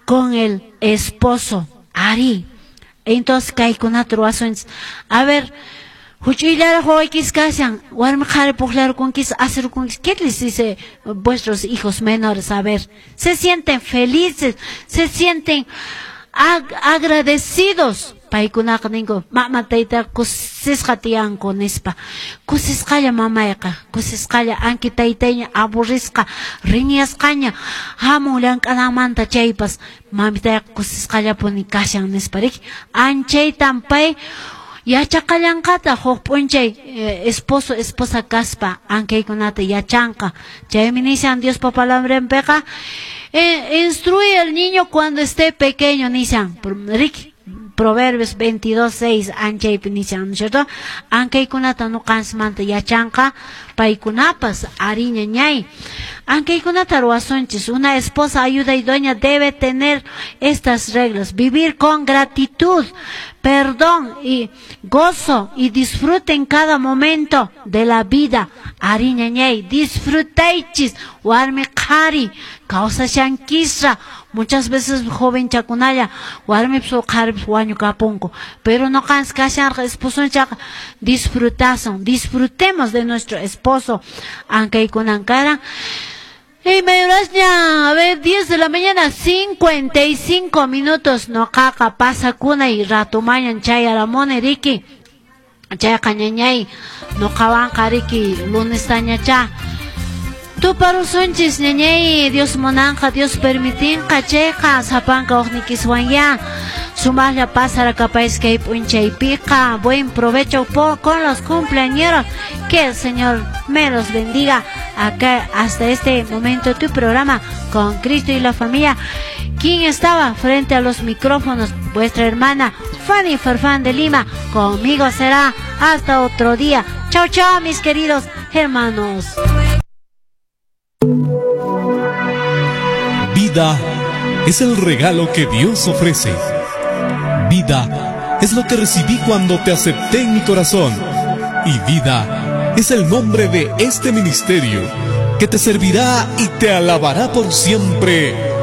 con el esposo. Ari. Entonces kaykunata ruwasunchis. A ver, huch'uyllaraq wawaykis kashan, warmi qhari puqllarukunkis, asirukunkis. ¿Qué les dice vuestros hijos menores? A ver, se sienten felices, se sienten agradecidos. Paykunaqa ninku, mama tayta kusisqa tiyanku nispa. Kusisqalla mamayqa, kusisqalla anki taytayña aburrisqa, riñasqaña hamun llank'ananmanta chaypas mamitayqa kusisqallapuni kashan nispa, riki. Anchaytan pay yachaqallanqata huk p'unchay esposo esposa kaspa ankaykunata yachanqa. Chaymi nishan Diospa palabranpiqa, instruye al niño cuando esté pequeño nishan, riki. Proverbios 22:6 anchaypi nishan, ¿no es cierto? Ankaykunata nuqansmanta yachanqa paykunapas ari ñañay. Ankaykunata ruwasunchis. Una esposa ayuda idónea debe tener estas reglas: vivir con gratitud, perdón y gozo, y disfruten cada momento de la vida. Ari ñañay, disfrutaychis warmi qhari kawsashankisra. Muchas veces joven chakunalla warmipis qharipis wañukapunku, pero nuqanchis kashanqa esposonchaqa disfrutasun, disfrutemos de nuestro esposo. Ankaykunan karan. Y mayorasña, a ver, 10 de la mañana, 55 minutos, noqaqa pasakunay ratumañan chayaramuni riki. Chayqa ñañay, noqawanqa riki lunestañacha. Tuparusunchis ñañay, Dios munanqa, Dios permitinqa, chayqa sapanka uqnikiswan ya. Sumaqlla pasarakapays kay p'unchaypiqa. Buen provecho con los cumpleañeros. Que el Señor me los bendiga. Acá hasta este momento tu programa con Cristo y la familia. ¿Quién estaba frente a los micrófonos? Vuestra hermana Fanny Farfán de Lima. Conmigo será hasta otro día. Chao, chao, mis queridos hermanos. Vida es el regalo que Dios ofrece. Vida es lo que recibí cuando te acepté en mi corazón. Y vida es el nombre de este ministerio que te servirá y te alabará por siempre.